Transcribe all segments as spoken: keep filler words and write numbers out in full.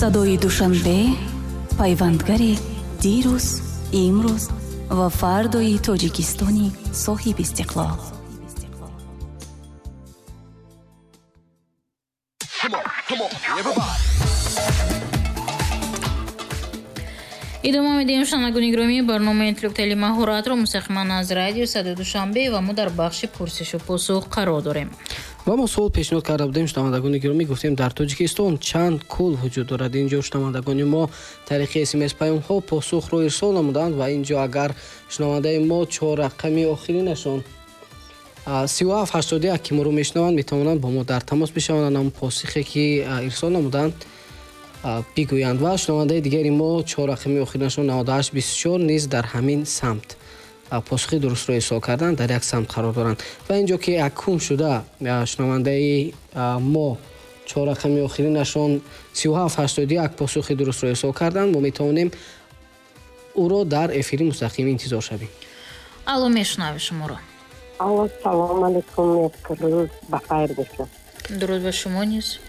Садои Душанбе, пайвандгари дирӯз, имрӯз ва фардои Тоҷикистони соҳиби истиқлол. Идома медиҳем, шунавандагони гиромӣ, барномаи интеллектуали маҳоратро мустақиман аз радио Садои Душанбе ва мо дар бахши пурсишу посух қарор дорем. Ва мо суол пешниҳод карда будем, шунавандагони гиромӣ, гуфтем дар Тоҷикистон чанд кӯл вуҷуд дорад. Инҷо шунавандагони мо тариқи смс паёмҳо посухро ирсол намуданд ва инҷо агар шунавандаи мо чор рақами охиринашон сию ҳафт ҳаштоду як ки моро мешунаванд, метавонанд бо мо дар тамос бишаванд, ҳамон посухе ки ирсол намуданд бигӯянд. Ва шунавандаи дигари мо чор рақами охиринашон наводу ҳашт бисту чор низ дар ҳамин самт посухи дурустро ирсол карданд, дар як самт қарор доранд. Ва инҷо ки якум шуда шунавандаи мо чор рақами охиринашон сию ҳафт ҳаштоду як посухи дурустро ирсол карданд, мо метавонем ӯро дар эфири мустақим интизор шавем. Алло, мешунавем шуморо. Алло, салом алейкум, як рӯз ба хайр бошад. Дуруд ба шумо низ.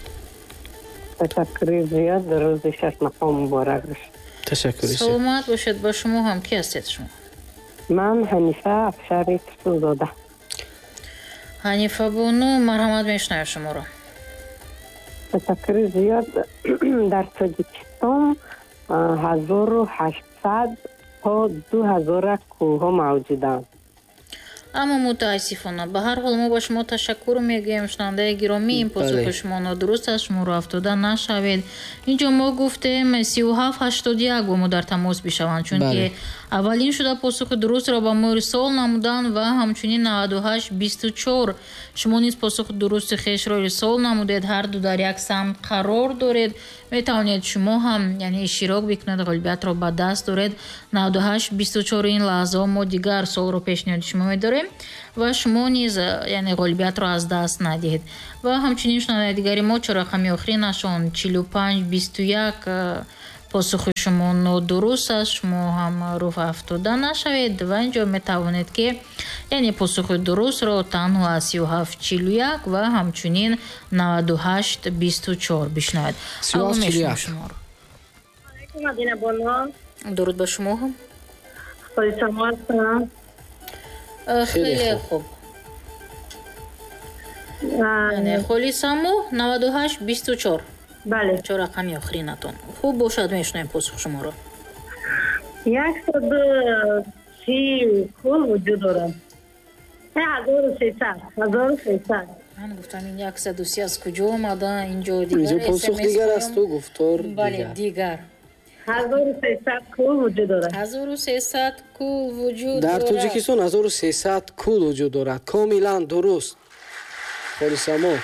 Ташаккури зиёд, рӯзи шашмақом муборак бошад. Ташаккури зиёд. Саломат бошед, ба шумо ҳам. Ки ҳастед шумо? Ман Ҳанифа Афшари Турсунзода. Ҳанифа бону, марҳамат, мешунавем шуморо. Ташаккури зиёд. Дар Тоҷикистон ҳазору ҳаштсад то ду ҳазора кӯлҳо мавҷуданд. Аммо мутаассифона, ба ҳар ҳол мо ба шумо ташаккур мегӯем, шунавандаи гиромӣ, ин посухи шумо нодуруст аст, шуморо афтода нашавед. Инҷо мо гуфтем сию ҳафт ҳаштоду як бо мо дар тамос бишаванд, чунки аввалин шуда посухи дурустро ба мо ирсол намуданд ва ҳамчунин наваду ҳашт бисту чор шумо низ посухи дурусти хешро ирсол намудед, ҳар ду дар як самт қарор доред. Метавонед шумо ҳам яъне иштирок бикунед, ғолибиятро ба даст доред. Наваду ҳашт бисту чор ин лаҳзаҳо мо дигар суолро пешниҳоди шумо медорем ва шумо низ яъне ғолибиятро аз даст надиҳед. Ва ҳамчунин шунавандаи дигари мо чор рақами охиринашон чилу панҷ бисту як посухи шумо нодуруст аст, шумо ҳам рӯҳ афтода нашавед ва инҷо метавонед ки яъне посухи дурустро танҳо аз сию ҳафт чилу як ва ҳамчунин наваду ҳашт бисту чор бишнавед. Сию ҳафт чилу як. Дуруд ба шумо ҳам. Хеле хуб. Яъне Холисамо наваду ҳашт бисту чор. Бале. Чор рақами охиринатон. Хуб бошад, мешунавем посух шуморо. Яксаду си кӯл вуҷуд дорад. Ҳазору сесад, ҳазору сесад. Ман гуфтам ин яксаду си аз куҷо омада? Инҷо дигар посух дигар аст, ту гуфтор бале, дигар. ҳазору сесад кӯл вуҷуд дорад. ҳазору сесад кӯл вуҷуд дар дорад. Тоҷикистон ҳазору сесад кӯл вуҷуд дорад. Комилан дуруст. Холисамо,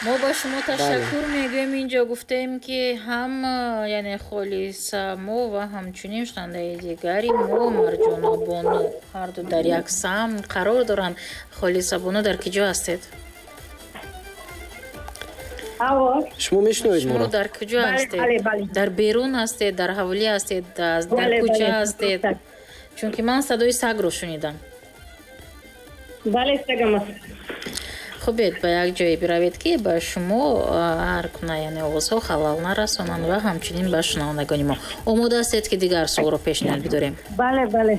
мо ба шумо ташаккур мегӯем. Инҷо гуфтем ки ҳам яъне Холисамо ва ҳамчунин шунавандаи дигари мо Марҷона бону ҳар ду дар як самт қарор доранд. Холиса бону, дар куҷо ҳастед? Шумо мешунавед шумо моро? Дар куҷо ҳастед? Дар берун ҳастед, дар ҳавлӣ ҳастед, дар кӯча ҳастед? Чунки ман садои сагро шунидам. Бале, сагам аст. Хубед, ба як ҷое биравед ки ба шумо ҳар гуна яъне овозҳо халал нарасонанд ва ҳамчунин ба шунавандагони мо. Омода ҳастед ки дигар суолро пешниҳод бидорем? Бале, бале.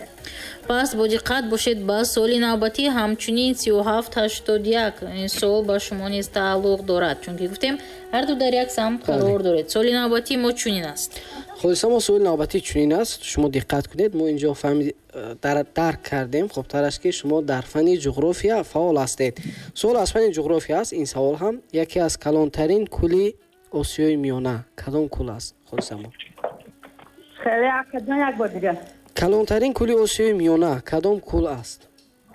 Пас бо диққат бошед ба суоли навбатӣ, ҳамчунин сию ҳафт ҳаштоду як ин суол ба шумо низ тааллуқ дорад, чунки гуфтем ҳар ду дар як самт қарор доред. Суоли навбатии мо чунин аст. Холиса, мо суоли навбатӣ чунин аст, шумо диққат кунед. Мо инҷо фаҳмид дарк кардем, хубтар аст ки шумо дар фанни ҷуғрофия фаъол ҳастед. Суол аз фанни ҷуғрофия аст. Ин савол ҳам яке аз калонтарин кӯли Осиёи Миёна кадом кӯл аст, Холиса мо? Хеле акаҷон, як бор дигар. Калонтарин кӯли Осиёи Миёна кадом кӯл аст?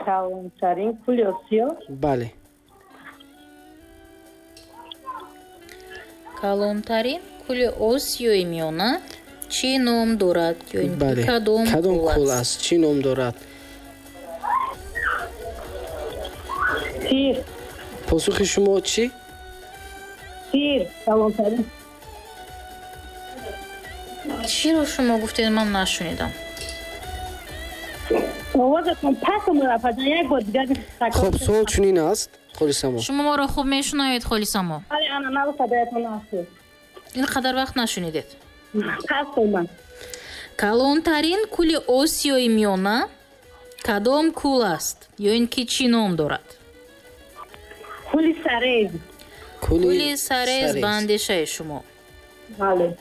Калонтарин кӯли Осиё? Бале. Калонтарин кӯли Осиёи Миёна чӣ ном дорад? Ё ин ки кадом кадом кӯл кӯл аст? аст? Чӣ ном дорад? Сир. Посухи шумо чӣ? Сир, калонтарин. Чиро шумо гуфтед, ман нашунидам. Овозатон пас омад, апаҷон, як бор дигар. Хуб, суол чунин аст, Холисамо. Шумо моро хуб мешунавед, Холисамо? Бале, ана нав садоятон аст. Ин қадар вақт нашунидед. Пас омад. Калонтарин кӯли Осиёи Миёна кадом кӯл аст ё ин ки чӣ ном дорад? Кӯли Сарез. Кӯли Сарез ба андешаи шумо. Бале.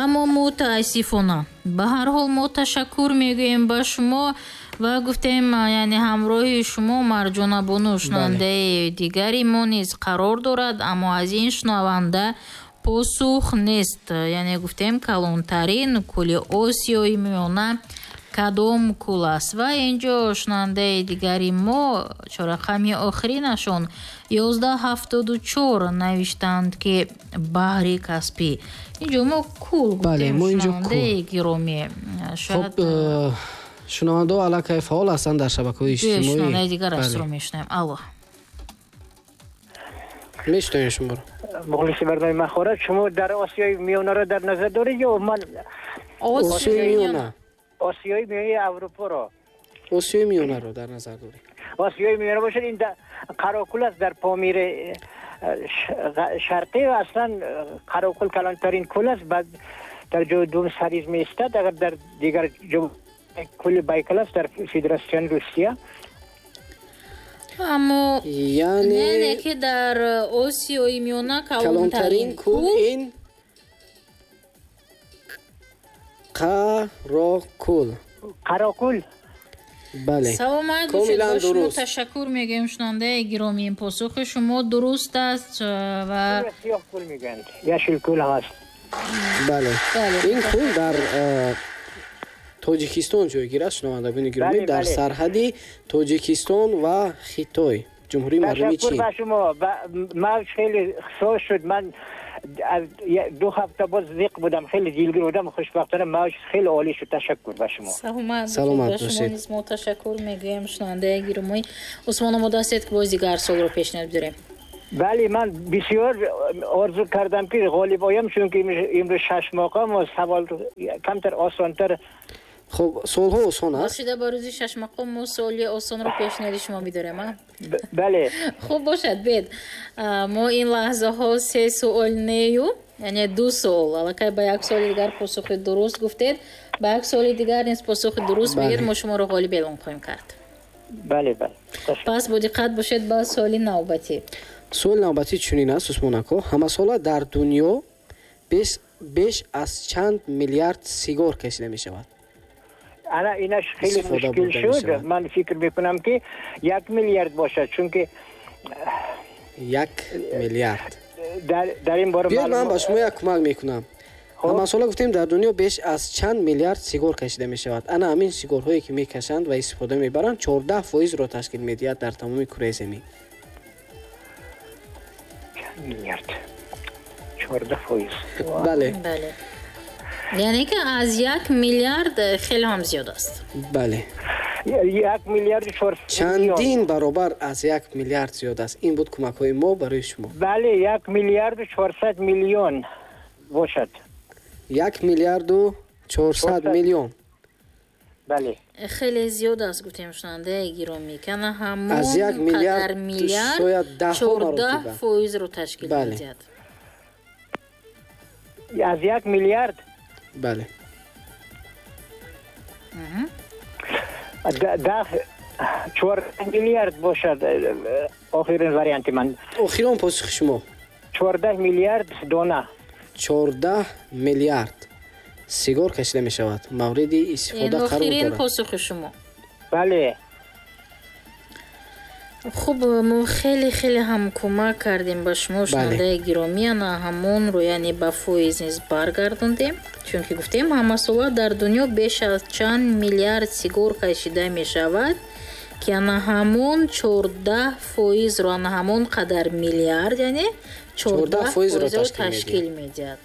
Аммо мутаассифона, ба ҳар ҳол мо ташаккур мегӯем ба шумо ва гуфтем, яъне ҳамроҳи шумо Марҷона бону шунавандаи дигари мо низ қарор дорад, аммо аз ин шунаванда посух нест. Яъне гуфтем калонтарин кӯли Осиёи Миёна кадом кӯл аст? Ва инҷо шунавандаи дигари мо чорақами охиринашон ёздаҳ ҳафтоду чор навиштанд, ки баҳри Каспӣ. Инҷо мо кӯл гуфтем, шунавандаи гиромӣ. Шояд шунавандаҳо аллакай фаъол ҳастанд дар шабакаҳои иҷтимоӣ. Шунавандаи дигар астро мешунавем. Алло. Мешунавем шуморо. Мухлиси барномаи Махорат, шумо дар Осиёи Миёнаро дар назар доред ё ман Осиёи Миёна? Осиёи Миёнаи Аврупоро. Осиёи Миёнаро дар назар доред. Осиёи Миёна бошад, ин Қаракул аст дар Помири Шарқӣ. Аслан Қаракул калонтарин кӯл аст, баъд дар ҷои дуюм Сарез меистад. Агар дар дигар ҷо кӯли Байкал аст дар Федератсияи Русия. Аммо яъне ки дар Осиёи Миёна калонтарин кӯл ин Қаракул. Қаракул. Бале. Саломат бошед, ба шумо ташаккур мегӯем, шунавандаи гиромӣ. Посухи шумо дуруст аст ва сиёҳ кӯл мегӯянд, яшил кӯл ҳаст. Бале. Ин кӯл дар Тоҷикистон ҷойгир аст, шунавандагони гиромӣ, дар сарҳади Тоҷикистон ва Хитой, Ҷумҳурии Мардумии Чин. Ташаккур ба шумо. Мавҷ хеле соз шуд. Ман ду ҳафта боз зиқ будам, хеле дилгир будам. Хушбахтона мавҷ хеле олӣ шуд. Ташаккур ба шумо. Саломат бошед. Ба шумо низ мо ташаккур мегӯем, шунавандаи гиромӣ. Усмон, омода ҳастед ки боз дигар суолро пешниҳод бидорем? Бале, ман бисёр орзу кардам ки ғолиб оям, чунки имрӯз шаш мақом ва савол камтар осонтар. Хуб, суолҳо осон аст. Бошида ба рӯзи шашмақом мо суоли осонро пешниҳоди шумо бидорем, а? Бале. Хуб бошад, бед. Мо ин лаҳзаҳо се суол нею, яъне ду суол. Аллакай ба як суоли дигар посухи дуруст гуфтед, ба як суоли дигар низ посухи дуруст мегӯед, мо шуморо ғолиб эълон хоҳем кард. Бале, бале. Пас бо диққат бошед ба суоли навбатӣ. Суоли навбатӣ чунин аст, Усмон ако. Ҳамасола дар дунё беш аз чанд миллиард сигор кашида мешавад? Ана инаш хеле мушкил шуд. Ман фикр мекунам ки як миллиард бошад, чунки як миллиард. Дар ин бора биёед ман ба шумо як кӯмак мекунам. Ҳамасола гуфтем дар дунё беш аз чанд миллиард сигор кашида мешавад. Ана ҳамин сигорҳое ки мекашанд ва истифода мебаранд чордаҳ фоизро ташкил медиҳад дар тамоми кураи замин. Чанд миллиард? Чордаҳ фоиз. Бале. Бале. Яъне ки аз як миллиард хеле ҳам зиёд аст. Бале. Як миллиарду чорсад. Чандин баробар аз як миллиард зиёд аст. Ин буд кӯмакҳои мо барои шумо. Бале, як миллиарду чорсад миллион бошад. Як миллиарду чорсад миллион. Бале. Хеле зиёд аст, гуфтем шунавандаи гиромӣ. Кана ҳамон аз як қадар миллиард шояд даҳҳо чордаҳ маротиба. фоизро ташкил медиҳад. Аз як миллиард? Бале. Даҳ чордаҳ миллиард бошад охирин варианти ман. Охирон посухи шумо? Чордаҳ миллиард дона. Чордаҳ миллиард сигор кашида мешавад, мавриди истифода қарор дорад. Охирин посухи шумо? Бале. Хуб, мо хеле хеле ҳам кӯмак кардем ба шумо, шунавандаи гиромӣ. Ана ҳамонро яъне ба фоиз низ баргардондем, чунки гуфтем ҳамасола дар дунё беш аз чанд миллиард сигор кашида мешавад, ки ана ҳамон чордаҳ фоизро, ана ҳамон қадар миллиард, яъне чордаҳ фоизро ташкил медиҳад.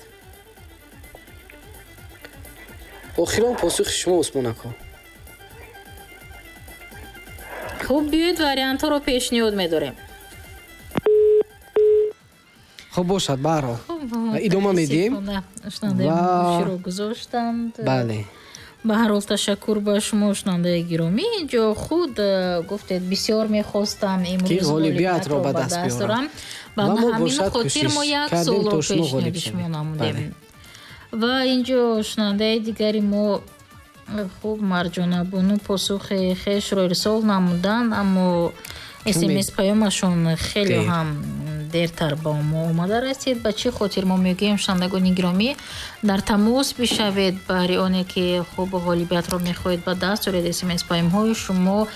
Охирон посухи шумо, Усмон ако? Хуб, биёед вариантҳоро пешниҳод медорем. Хуб бошад, баҳрҳол идома медиҳем. Шунавандаи гӯширо гузоштанд. Бале. Ба ҳар ҳол ташаккур ба шумо, шунавандаи гиромӣ. Инҷо худ гуфтед, бисёр мехостам имрӯз ғолибиятро ба даст биёрам. Ба ҳамин хотир мо як суолро пешниҳоди шумо намудем. Ва инҷо шунавандаи дигари мо, хуб, Марҷонабону посухи хешро ирсол намуданд, аммо смс паёмашон хеле ҳам дертар ба мо омада расид. Ба чӣ хотир мо мегӯем, шунавандагони гиромӣ, дар тамос бишавед баҳри оне ки хуб ғолибиятро мехоҳед ба даст оред. Смс паёмҳои шумо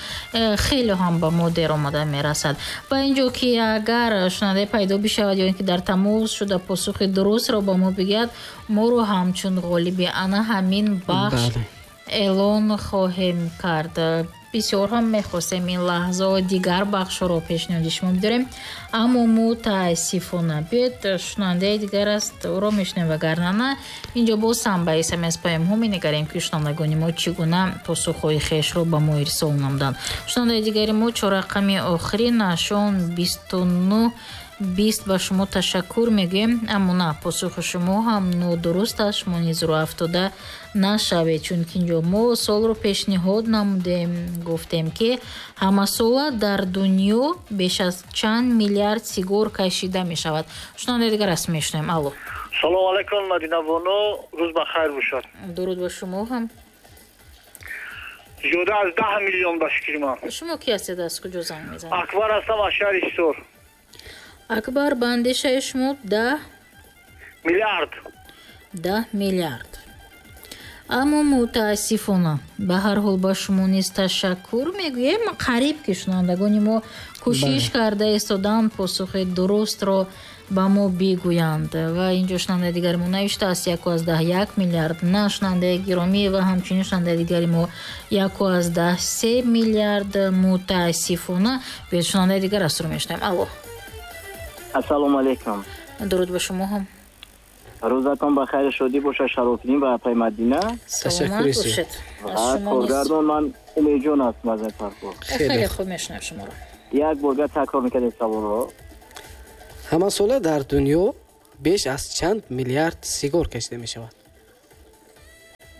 хеле ҳам ба мо дер омада мерасад. Ба инҷо ки агар шунаванда пайдо бишавад ё ин ки дар тамос шуда посухи дурустро ба мо бигӯяд, моро ҳамчун ғолиби ана ҳамин бахш эълон хоҳем кард. Бисёр ҳам мехостем ин лаҳза дигар бахшҳоро пешниҳоди шумо бидорем, аммо мутаассифона. Биёед, шунавандаи дигар аст, ӯро мешунавем, вагарна на инҷо боз ҳам ба смс паёмҳо менигарем, ки шунавандагони мо чӣ гуна посухҳои хешро ба мо ирсол намуданд. Шунавандаи дигари мо чоррақами охиринашон бисту нӯҳ бист, ба шумо ташаккур мегӯем, аммо на, посухи шумо ҳам нодуруст аст. Шумо низ рӯ афтода нашавед, чунки инҷо мо суолро пешниҳод намудем, гуфтем ки ҳамасола дар дунё беш аз чанд миллиард сигор кашида мешавад. Шунавандаи дигар аст, мешунавем. Алло. Салом алайкум, Мадинабону, рӯз ба хайр бошад. Дуруд ба шумо ҳам. Зиёда аз даҳ миллион ба фикри ман. Шумо ки ҳастед, аз куҷо занг мезанед? Акбар ҳастам, аз шаҳри Ҳисор. Акбар, ба андешаи шумо даҳ миллиард. Даҳ миллиард. Аммо мутаассифона, ба ҳар ҳол ба шумо низ ташаккур мегӯем. Қариб ки шунавандагони мо кӯшиш карда истоданд посухи дурустро ба мо бигӯянд. Ва инҷо шунавандаи дигари мо навиштааст яку аз даҳ як миллиард. На, шунавандаи гиромӣ, ва ҳамчунин шунавандаи дигари мо яку аз даҳ се миллиард. Мутаассифона. Биёед, шунавандаи дигар аст, рӯ мешунавем. Алло. Ассалому алайкум. Дуруд ба шумо ҳам. Рӯзатон ба хайр шодӣ бошад, Шарофиддин ва апай Мадина. Саломат бошед. Коргардон ман Умедҷон ҳастам аз Фархор. Хеле хуб мешунавам шуморо. Як борга такрор мекардед саволро. Ҳамасола дар дунё беш аз чанд миллиард сигор кашида мешавад?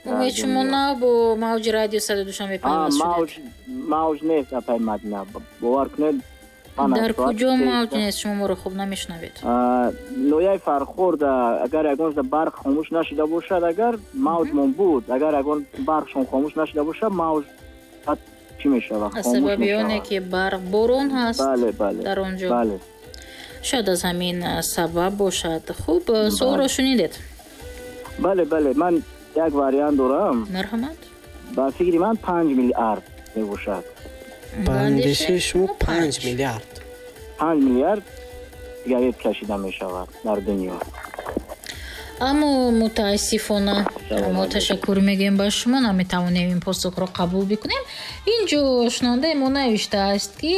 Умед, шумо на бо мавҷи радио садои Душанбе пайваст шудед? Мавҷ нест, апай Мадина. Бовар кунед. Дар куҷо мавҷ нест? Шумо моро хуб намешунавед. Ноҳияи Фархор агар ягон барқ хомӯш нашуда бошад, агар мавҷмон буд, агар ягон барқшон хомӯш нашуда бошад, мавҷ чӣ мешавад? Аз сабаби оне ки барқ борон ҳаст дар он ҷо, шояд аз ҳамин сабаб бошад. Хуб, суолро шунидед? Бале, бале, ман як вариант дорам. Марҳамат. Ба фикри ман панҷ миллиард мебошад. Ба андешаи шумо панҷ миллиард. Панҷ миллиард сигарет кашида мешавад дар дунё. Аммо мутаассифона, мо ташаккур мегӯем ба шумо, наметавонем ин посухро қабул бикунем. Инҷо шунавандаи мо навиштааст, ки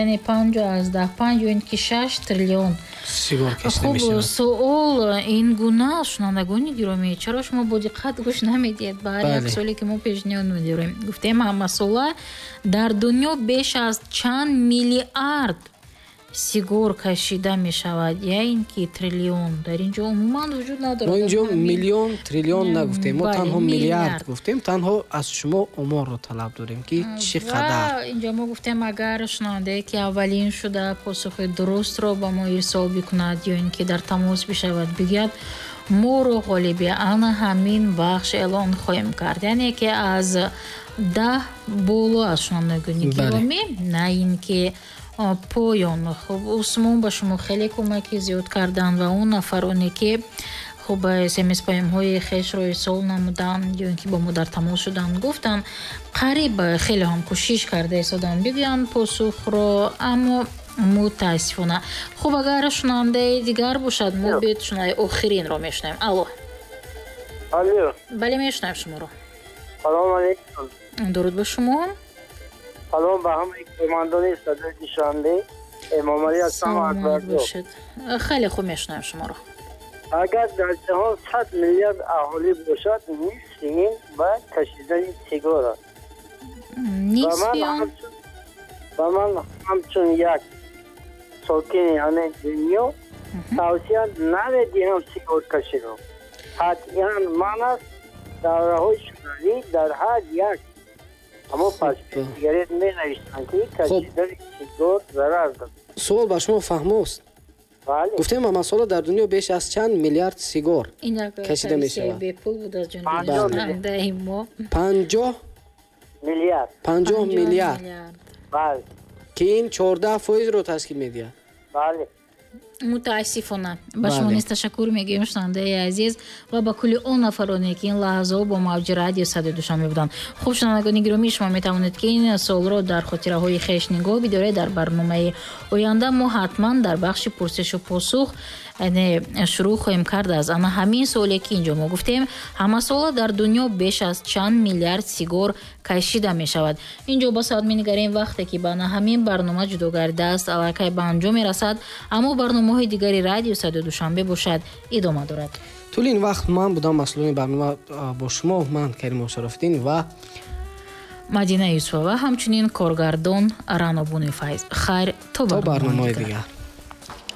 яъне панҷу аз даҳ панҷ ё ин ки шаш триллион сигор кашида мешавад. Хуб, суол ин гуна, шунавандагони гиромӣ, чаро шумо бо диққат гӯш намедиҳед ба ҳар як суоле ки мо пешниҳод медорем? Гуфтем ҳамасола дар дунё беш аз чанд миллиард сигор кашида мешавад, я ин ки триллион дар инҷо умуман вуҷуд надорад. Мо инҷо миллион, триллион нагуфтем, мо танҳо миллиард гуфтем. Танҳо аз шумо оморро талаб дорем, ки чӣ қадар. Инҷо мо гуфтем, агар шунавандае ки аввалин шуда посухи дурустро ба мо ирсол бикунад ё ин ки дар тамос бишавад, бигӯяд, моро ғолиби ана ҳамин бахш эълон хоҳем кард. Яъне ки аз даҳ боло аз шунавандагони гиромӣ, на ин ки поён. Хуб, Усмон ба шумо хеле кӯмаки зиёд карданд ва он нафароне ки хуб смс паёмҳои хешро ирсол намуданд ё ин ки бо мо дар тамос шуданд, гуфтанд қариб хеле ҳам кӯшиш карда истоданд бигӯянд посухро, аммо мутаассифона. Хуб, агар шунавандаи дигар бошад, мо биёед шунавандаи охиринро мешунавем. Алло. Алло. Бале, мешунавем шуморо. Салом алайкум. Дуруд ба шумо. Салом ба ҳамаи кормандони садои Душанбе. Эмомалӣ ҳастам аз Акбарҷон. Хеле хуб мешунавем шуморо. Агар дар ҷаҳон сад миллиард аҳолӣ бошад, нисфи ин ба кашидани сигор аст. Нисфи он? Ба ман ҳамчун як сокини ҳамин дунё тавсия намедиҳам сигор каширо. Қатъиян ман аст Давраҳои шӯравӣ дар ҳар як ҳамон пачкаи сигарет менавиштанд, ки кашидани сигор зарар дорад. Суол ба шумо фаҳмост? Бале. Гуфтем, ҳамасола дар дунё беш аз чанд миллиард сигор Ин як кашида тавсияи мешавад? Бепул буд аз ҷониби Панҷоҳ шунавандаи мо. Панҷоҳ миллиард. Панҷоҳ миллиард, Бале. ки ин чордаҳ фоизро ташкил медиҳад. Бале. Мутаассифона, ба шумо Бале. низ ташаккур мегӯем, шунавандаи азиз, ва ба кулли он нафароне, ки ин лаҳзаҳо бо мавҷи радио Садои Душанбе буданд. Хуб, шунавандагони гиромӣ, шумо метавонед, ки ин суолро дар хотираҳои хеш нигоҳ бидоред. Дар барномаи оянда мо ҳатман дар бахши пурсишу посух, яъне шурӯъ хоҳем кард аз ана ҳамин суоле, ки инҷо мо гуфтем: ҳамасола дар дунё беш аз чанд миллиард сигор кашида мешавад? Инҷо ба соат менигарем. Вақте ки ба ана ҳамин барнома ҷудо гардидааст, аллакай ба анҷом мерасад, аммо барномаҳои дигари радио Садои Душанбе бошад, идома дорад. Тӯли ин вақт ман будам масъулони барнома, а, бо шумо ман Каримов Шарофиддин ва Мадина Юсупова, ҳамчунин коргардон Рано Бунифайз. Хайр, то то барномаҳои барномаҳои дигар. Дигар.